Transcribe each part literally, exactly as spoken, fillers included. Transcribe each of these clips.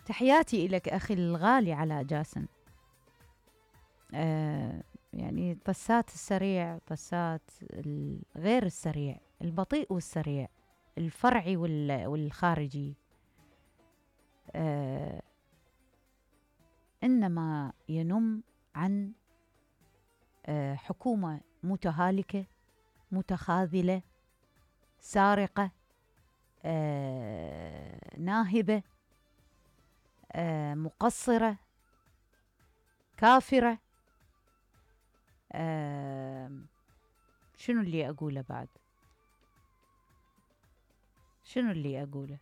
تحياتي إلك أخي الغالي علاء جاسم. آه يعني طسات السريع، طسات غير السريع، البطيء والسريع، الفرعي والخارجي، آه إنما ينم عن آه حكومة متهالكة، متخاذلة، سارقة، آه ناهبة، آه مقصرة، كافرة. آه شنو اللي أقوله بعد؟ شنو اللي أقوله؟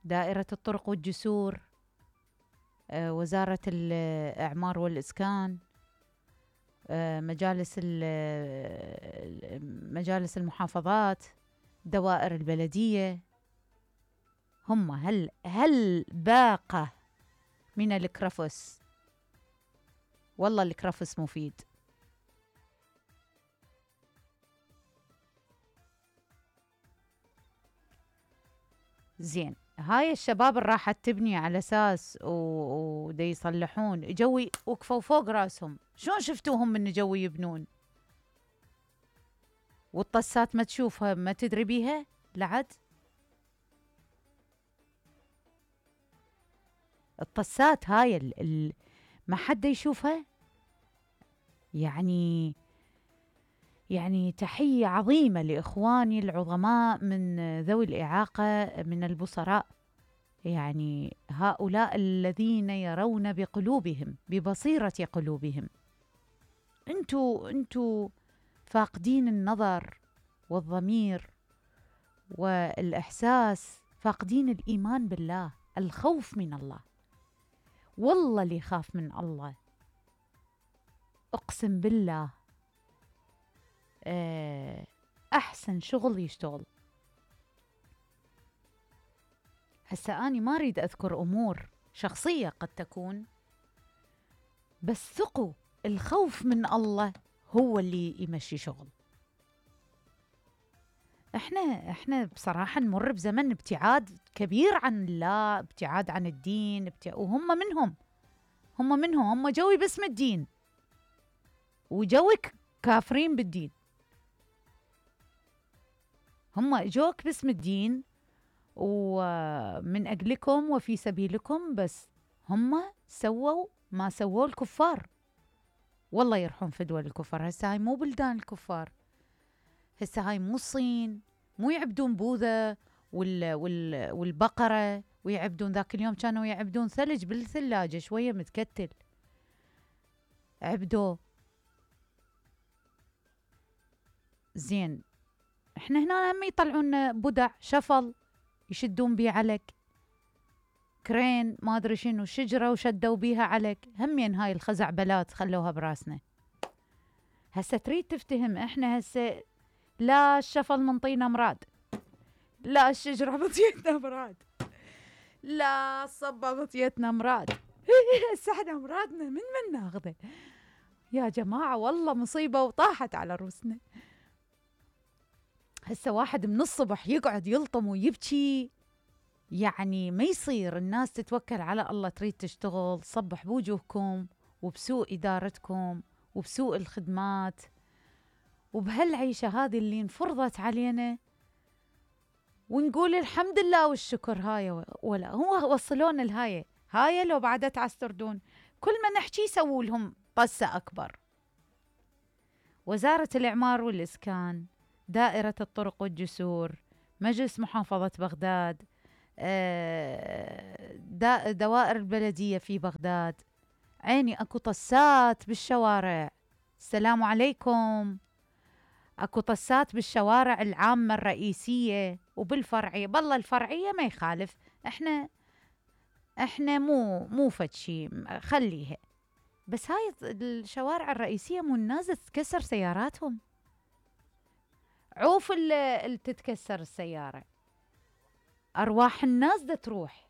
دائرة الطرق والجسور، آه وزارة الإعمار والإسكان، آه مجالس مجالس المحافظات، دوائر البلدية. هم هل هل باقة من الكرفس. والله الكرفس مفيد. زين، هاي الشباب اللي راحت تبني على اساس ودي يصلحون، جوي وقفوا فوق راسهم. شلون شفتوهم من جوي يبنون؟ والطسات ما تشوفها، ما تدري بيها لعد. الطسات هاي ال ال ما حد يشوفها. يعني يعني تحية عظيمة لإخواني العظماء من ذوي الإعاقة من البصراء. يعني هؤلاء الذين يرون بقلوبهم، ببصيرة قلوبهم. انتو انتو فاقدين النظر والضمير والإحساس، فاقدين الإيمان بالله، الخوف من الله. والله اللي يخاف من الله أقسم بالله أحسن شغل يشتغل. هسا أني ما أريد أذكر أمور شخصية قد تكون، بس ثقوا الخوف من الله هو اللي يمشي شغل. احنا احنا بصراحة نمر بزمن ابتعاد كبير عن الله، ابتعاد عن الدين، ابتع... وهم منهم هم منهم هم جوي باسم الدين، وجوي كافرين بالدين. هم جوك باسم الدين ومن أجلكم وفي سبيلكم، بس هم سووا ما سووا الكفار. والله يرحم في دول الكفار. هسه هاي مو بلدان الكفار، هسه هاي مو الصين، مو يعبدون بوذا وال وال والبقرة ويعبدون. ذاك اليوم كانوا يعبدون ثلج بالثلاجة شوية متكتل، عبدوه. زين، احنا هنا هم يطلعون بدع شفل يشدون بيه علك، كرين ما ادري شنو، شجرة وشدوا بيها علك. همين هاي الخزعبلات خلوها براسنا. هسه تريد تفتهم احنا هسه لا الشفل منطينا مراد، لا الشجرة مطيتنا مراد، لا الصبة مطيتنا مراد. هسه احنا مرادنا من من ناخذه يا جماعة؟ والله مصيبة وطاحت على روسنا. هسه واحد من الصبح يقعد يلطم ويبكي، يعني ما يصير. الناس تتوكل على الله، تريد تشتغل، صبح بوجوهكم وبسوء إدارتكم وبسوء الخدمات وبهالعيشة هذه اللي انفرضت علينا، ونقول الحمد لله والشكر. هاي ولا هو وصلون الهاي هاي لو بعد تعستردون، كل ما نحكي يسووا لهم طسة أكبر. وزارة الإعمار والإسكان، دائرة الطرق والجسور، مجلس محافظة بغداد، دوائر البلدية في بغداد. عيني أكو طسات بالشوارع. السلام عليكم. أكو طسات بالشوارع العامة الرئيسية وبالفرعية. بالله الفرعية ما يخالف، احنا احنا مو مو فد شي خليها، بس هاي الشوارع الرئيسية مو الناس تتكسر سياراتهم. عوف اللي تتكسر السيارة، أرواح الناس دا تروح.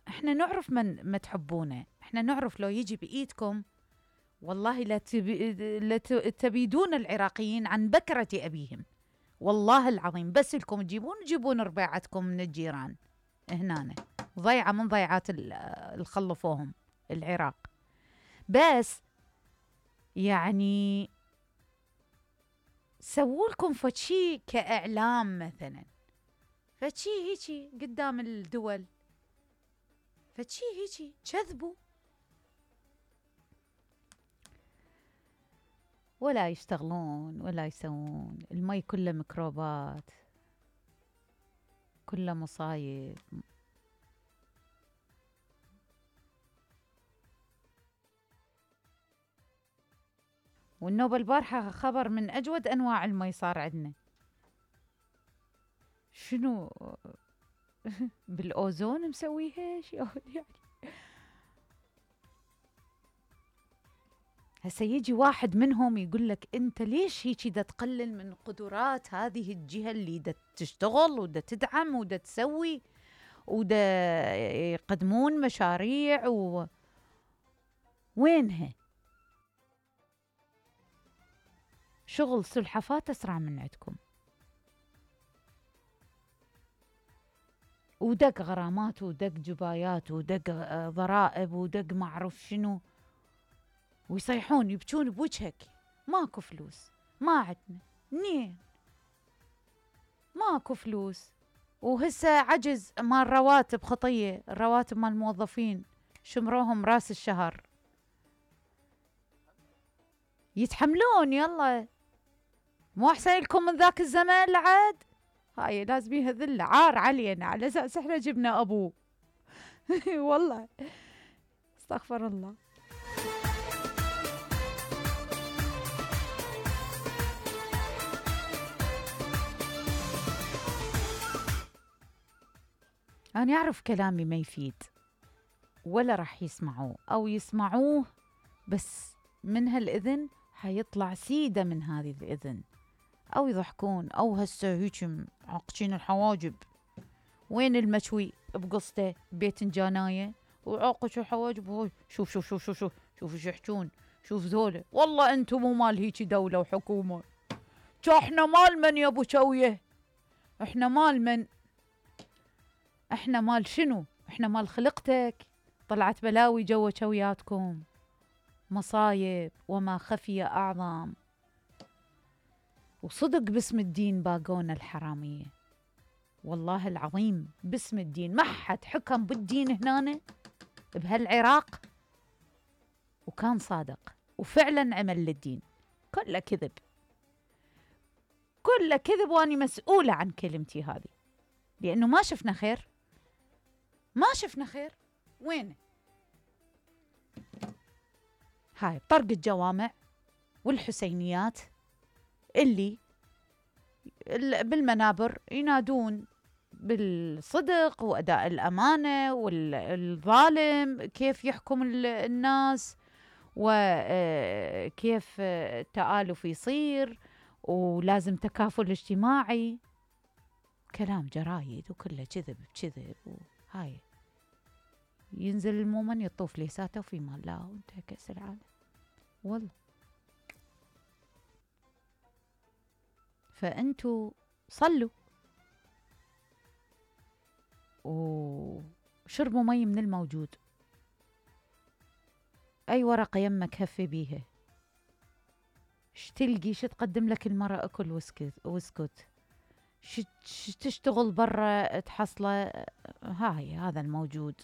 احنا نعرف من ما تحبونه، احنا نعرف لو يجي بإيدكم والله لا, تبي لا تبيدون العراقيين عن بكرة أبيهم. والله العظيم بس لكم تجيبون تجيبون ربيعتكم من الجيران هنا، ضيعة من ضيعات اللي خلفوهم العراق. بس يعني سووا لكم فشي كإعلام مثلا، فشي هيجي قدام الدول، فشي هيجي كذبوا ولا يشتغلون ولا يسوون. المي كله ميكروبات، كله مصايب. والنوبة البارحة خبر من أجود أنواع المي صار عندنا. شنو بالأوزون مسويها يعني. هسه يجي واحد منهم يقول لك أنت ليش هيك دا تقلل من قدرات هذه الجهة اللي دا تشتغل ودا تدعم ودا تسوي ودا يقدمون مشاريع و... وينها؟ شغل سلحفات أسرع من عندكم، ودق غرامات ودق جبايات ودق ضرائب ودق معرف شنو، ويصيحون يبكون بوجهك ماكو فلوس، ما عندنا منين، ماكو فلوس. وهسه عجز مال رواتب خطية، الرواتب مال الموظفين شمروهم راس الشهر، يتحملون. يلا مو أحسن لكم من ذاك الزمان لعد؟ هاي لازم بيها ذلة عار علينا على أساس احنا جبنا أبوه. والله استغفر الله. أنا أعرف كلامي ما يفيد ولا راح يسمعوه، أو يسمعوه بس من هالإذن حيطلع سيدة من هذه الإذن، أو يضحكون، أو هسه هيك عاقشين الحواجب. وين المشوي بقصته بيت جاناية وعاقش الحواجب. شوف شوف شوف شوف شوف شوف ايش يحجون، شوف ذولا والله انتم مو مال هيك دولة وحكومة. احنا مال من يا ابو شوية؟ احنا مال من؟ احنا مال شنو؟ احنا مال خلقتك. طلعت بلاوي جوا شوياتكم، مصايب وما خفي أعظم. وصدق باسم الدين باقونا الحرامية، والله العظيم باسم الدين. ما حد حكم بالدين هنا بهالعراق وكان صادق وفعلا عمل للدين. كله كذب، كله كذب، واني مسؤولة عن كلمتي هذه، لأنه ما شفنا خير، ما شفنا خير. وين هاي طرق الجوامع والحسينيات اللي بالمنابر ينادون بالصدق وأداء الأمانة، والظالم كيف يحكم الناس، وكيف التآلف يصير، ولازم تكافل اجتماعي. كلام جرايد وكله كذب بكذب. وهاي ينزل المؤمن يطوف ليساته وفي مال لا وانتهى كأس العالم. والله فأنتوا صلوا وشربوا مي من الموجود. أي ورقة يمك هفي بيها، ش تلقي ش تقدم لك المرأة أكل واسكت واسكت، ش تشتغل برا تحصله، هاي هذا الموجود.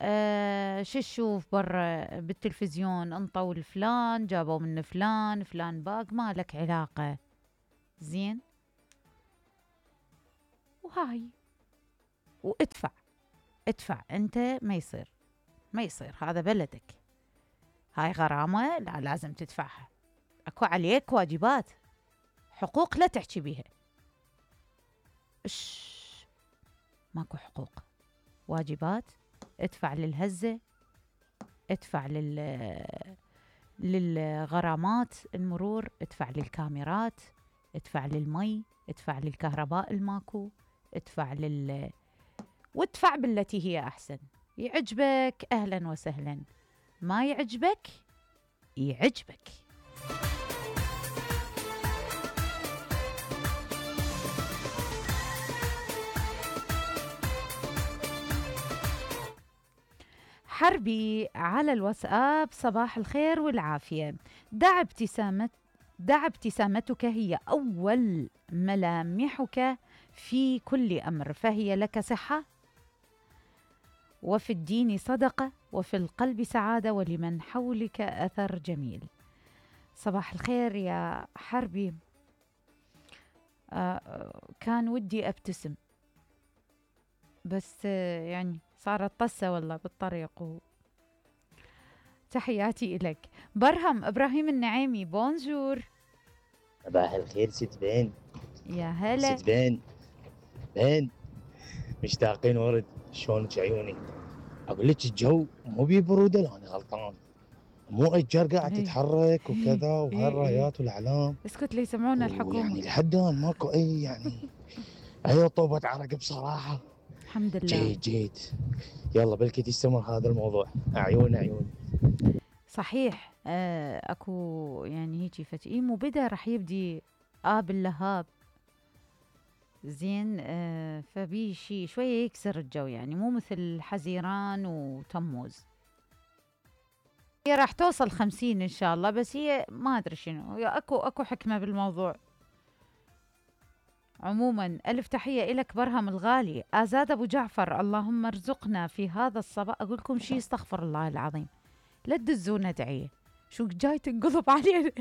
أه شو تشوف برا بالتلفزيون، انطوا لفلان، جابوا من فلان، فلان باق، ما لك علاقة. زين، وهاي وادفع ادفع انت. ما يصير ما يصير، هذا بلدك، هاي غرامة لا لازم تدفعها. اكو عليك واجبات، حقوق لا تحكي بيها. اش ماكو حقوق، واجبات. ادفع للهزة، ادفع لل للغرامات المرور، ادفع للكاميرات، ادفع للمي، ادفع للكهرباء الماكو، ادفع لل وادفع بالتي هي أحسن. يعجبك أهلا وسهلا، ما يعجبك يعجبك. حربي على الواتساب: صباح الخير والعافية. دع ابتسامة دع ابتسامتك هي أول ملامحك في كل أمر، فهي لك صحة، وفي الدين صدقة، وفي القلب سعادة، ولمن حولك أثر جميل. صباح الخير يا حربي. آه كان ودي أبتسم، بس آه يعني صارت طسة والله بالطريق. و... تحياتي إلك. برهم إبراهيم النعيمي: بونجور. صباح الخير ست بين. يا هلا. ست بين بين مشتاقين ورد، شلونك عيوني؟ اقول لك الجو مو ببروده، لو انا غلطان؟ مو اشجار قاعد إيه. تتحرك وكذا، إيه إيه. وهالرايات والاعلام، اسكت لي يسمعونا الحكومة. ويعني لحد الان ماكو اي يعني اي طوبة عرق بصراحه. الحمد لله. جيد جيد. يلا بلكي تستمر هذا الموضوع. عيون عيون. صحيح. آه اكو يعني هيجي فتئيم وبدا راح يبدي اب اللهاب. زين. آه فبي شي شويه يكسر الجو، يعني مو مثل حزيران وتموز. هي راح توصل خمسين ان شاء الله، بس هي ما ادري شنو، اكو اكو حكمه بالموضوع. عموما ألف تحية إلك برهم الغالي. آزاد أبو جعفر: اللهم ارزقنا في هذا الصباح. أقول لكم شيء، استغفر الله العظيم، لا تدزونا دعية، شو جاي تنقلب علينا.